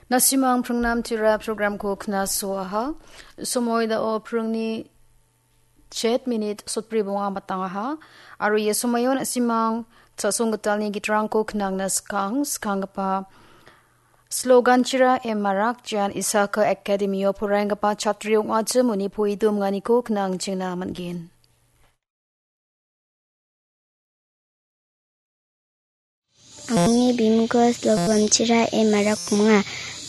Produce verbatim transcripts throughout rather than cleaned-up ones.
Nasimang pringnam tira programko knasoaha. Somoi dao pringni chet minit sotbri bonga matangaha. Aro ia somoion nasimang chasong gitalni gitrangko knangna skang, skanggipa slogan tira e marak Jan Isaka Academy-o poraienggipa chatri ong·achim uni poidum ganiko knang chingna man·gen. Angni bimingko slogan tira e marak ong·a.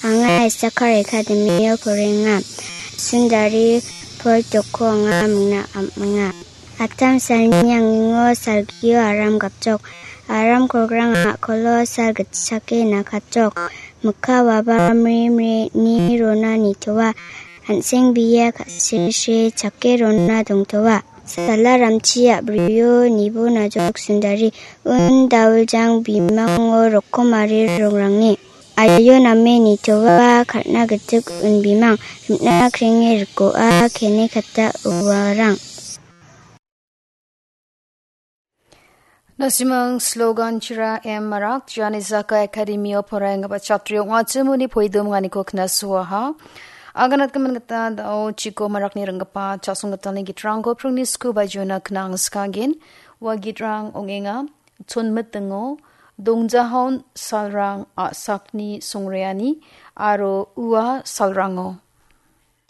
Anga Isaka Academy-o porenga. Sundari Pol Toko anga mingna am-, ong·a. Atam salni angingo salgio aram gapjok. Aram kolgrang a·kolo sal gitchake nakatjok. Mikka waba mri mri ni rona nitoa. An·seng bia ka·sese chake rona dongtoa. Sala ramchi a·brio nibo najok sundari. Un dawiljang bimango rokomari rongrangni. Aio name nitoa kal·na gitik un bimang. Rim·na krenge rikoa kene kata uarang. Nasimang slogan tira e marak Jan Isaka Academy-o poraienggipa chatri ong·achim uni poidum ganiko knasoaha. Aganatgimin gita dao chiko marakni ringgipa chasong gitalni gitrangko pringni sku bajona knang skanggen. Ua gitrang ong·enga. Chonmitingo Dongjahaon salrang a·sakni songreani aro ua salrango.